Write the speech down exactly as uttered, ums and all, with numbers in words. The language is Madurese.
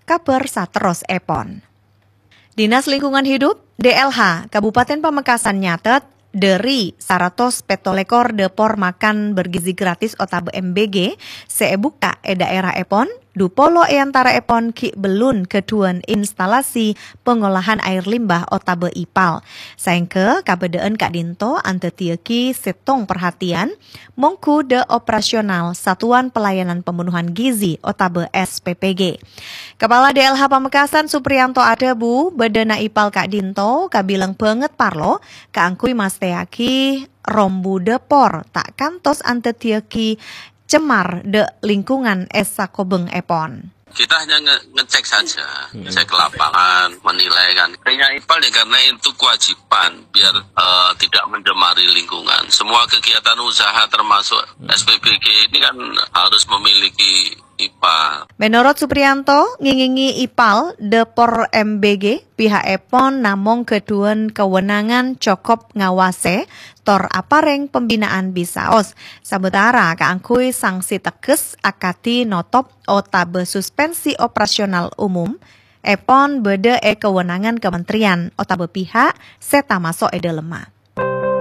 Kabhâr saterrossèpon. Dinas Lingkungan Hidup, D L H, Kabupaten Pamekasan nyatet, dhâri saratos pètto lèkor dâpor makan bergizi gratis otabâ M B G sè èbukka' è dhaèraèpon, dupolo è antara'èpon ghi' bellun ghâdhuwân instalasi pengolahan air limbah otabâ ipal. Saèngghâ kabâdâ'ân ka'dinto andhâddhiyâghi sèttong parhatèyan, mongghu dâ' operasional Satuan Pelayanan Pemenuhan Gizi otabâ S P P G. Kapala D L H Pamekasan Supriyanto adhâbu, bâdâna ipal ka'dinto kabilang bângèt parlo kaangghuy mastèyaghi rombu dâpor ta' kantos andhâddhiyâghi cemar dâ' lingkungan è sakobhângngèpon. Kita hanya nge- ngecek saja, cek lapangan, menilai kan. Artinya ipal ya karena itu kewajiban biar eh, tidak mencemari lingkungan. Semua kegiatan usaha termasuk S P B G ini kan harus memiliki ipal. Menurut Supriyanto, ngèngèngè ipal dâpor M B G, piha'èpon namong ghâdhuwân kawenangan cokop ngawasè tor aparèng pembinaan bisaos. Sabâtara kaangghuy sanksi tegghes akadhi notop otabâ suspensi operasional umum èpon bâdâ è kawenangan kementerian otabâ pihak sè tamaso' è dâlemma.